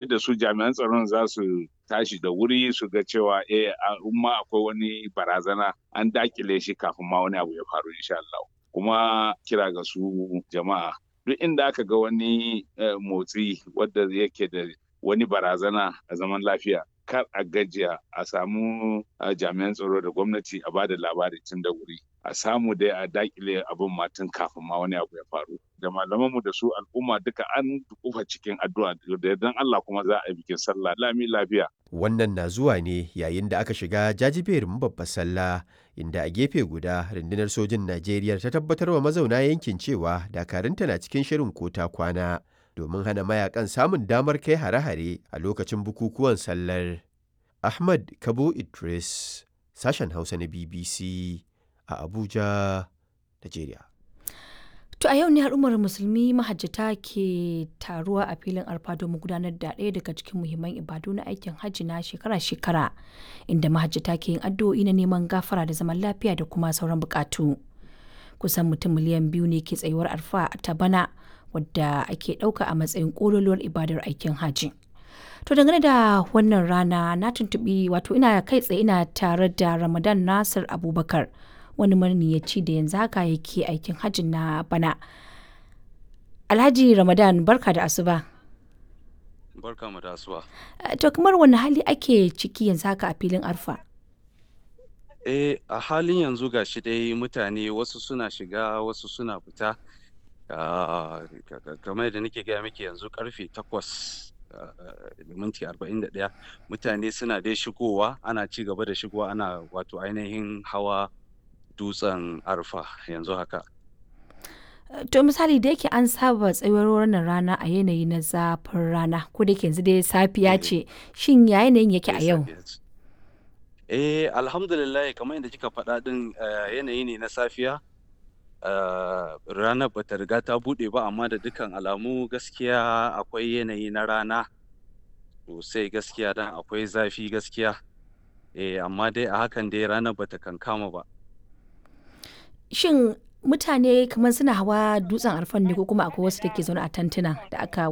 Da su jami'an tsaron za su tashi da wuri su ga cewa ma akwai wani barazana an dakile shi kafin ma wani abu ya faru insha Allah. Kuma kira ga su jama'a, duk inda aka ga wani motsi wadda yake da wani barazana a zaman lafiya, kar a gajiya a samu jami'an tsaro da gwamnati a bada labari tun da wuri, a samu dai a dakile abin ma tun kafin ma wani abu ya faru. Da malamanmu da su al'umma duka an kufa cikin addu'a, da yardan Allah kuma za a yi bikin sallah lami lafiya. Wannan na zuwa ne yayin da aka shiga jajiberin babbar sallah, inda a gefe guda rundunar sojin Najeriya ta tabbatar wa mazauna yankin cewa dakarunta na cikin shirin ko ta kwana domin hana mayakan samun damar kai hare-hare a lokacin bukukuwan sallar. Ahmad Kabo Idris, sashen Hausa na BBC a Abuja, Najeriya. To a yau ne al'ummar musulmi mahajjata ke taruwa a filin Arfa domin gudanar da ɗaya daga cikin muhimman ibadu na aikin hajji na shekara-shekara, inda mahajjata ke yin addu'o'i na neman gafara da zaman lafiya da kuma sauran bukatu. Kusan mutum miliyan 2 ne ke tsayuwar Arfa ta bana, wadda ake ɗauka a matsayin ƙololuwar ibadar aikin hajji. To dangane da wannan rana na tuntuɓi, wato ina kai tsaye ina tare da Ramadan Nasir Abubakar, wani maniyaci da yanzu haka yake aikin hajji na bana. Alhaji Ramadan, barka da asuba. Barka mu da asuba. To kamar wani hali ake ciki yanzu haka a filin Arfa? A halin yanzu ga shi dai mutane wasu suna shiga, wasu suna fita. Kamar yadda nake gaya miki, yanzu karfe 8:41, mutane suna dai shigowa, ana ci gaba da shigowa, ana wato ainihin hawa dutsen Arfa yanzu haka. To misali, da yake an saba tsayuwar wannan rana a yanayi na zafin rana, ko da yake yanzu dai safiya ce, shin ya yanayin yake a yau? Alhamdulillah, kamar yadda kika faɗa ɗin, yanayi ne na safiya. Ranar bata riga ta buɗe ba, amma da dukkan alamu gaskiya akwai yanayi na rana sosai gaskiya, dan akwai zafi gaskiya. Amma dai a hakan dai ranar bata kankama ba. Shin mutane kamar suna hawa dutsen Arfan ne, ko kuma akwai wasu da ke zaune a tantuna da aka